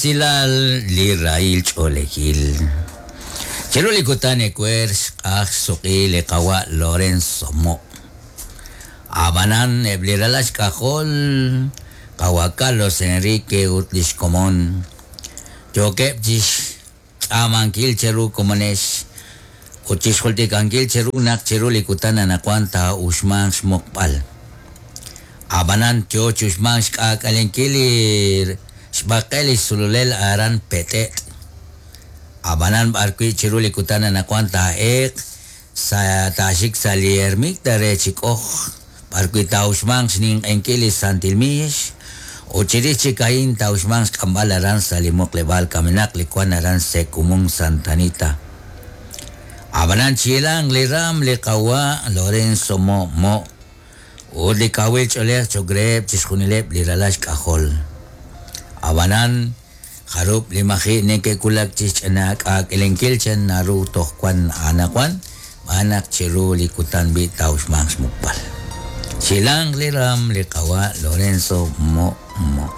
resilal li rahil ch'oolejil. Chiru li kutan ewer xq'aj xsuq'i li qawa' Lorenzo Mo'. Ab'anan eb' li ralal xk'ajol qawa' Carlos Enrique ut li xkomon yookeb' chi xtz'aamankil cheru komonex ut chi xjultikankil cheru naq chiru li kutan anaqwan taa'uxmanq xmuqb'al. Ab'anan yo chi uxmank xk'aak'alenkil li xb'aqel li xsululel aran Pet'et'. Ab'anan b'arwi' chiru li kutan anaqwan taa'eeq sa' taaxik sa' li ermita re Chik'oj, b'arwi' taa'uxmanq xninq'ehinkil li Santil Miix, ut chirix chik a'in taa'uxmanq xk'amb'al aran sa' li muqleb'aal kamenaq li wank aran Sekumún Santa Anita. Ab'anan chihilanq li raanm li qawa' Lorenzo Mo' Mo' ut li kawil ch'oolej cho'q reheb' chixjunileb' li ralal xk'ajol. Ab'anan, jarub' li maji' neke'wulak chi xch'inak'aak'elenkil chan naru toj wan anaqwan, xb'aan naq chiru li kutan b'i' taa'uxmanq xmuqb'al. Chihilanq li raanm li qawa' Lorenzo Mo' Mo'.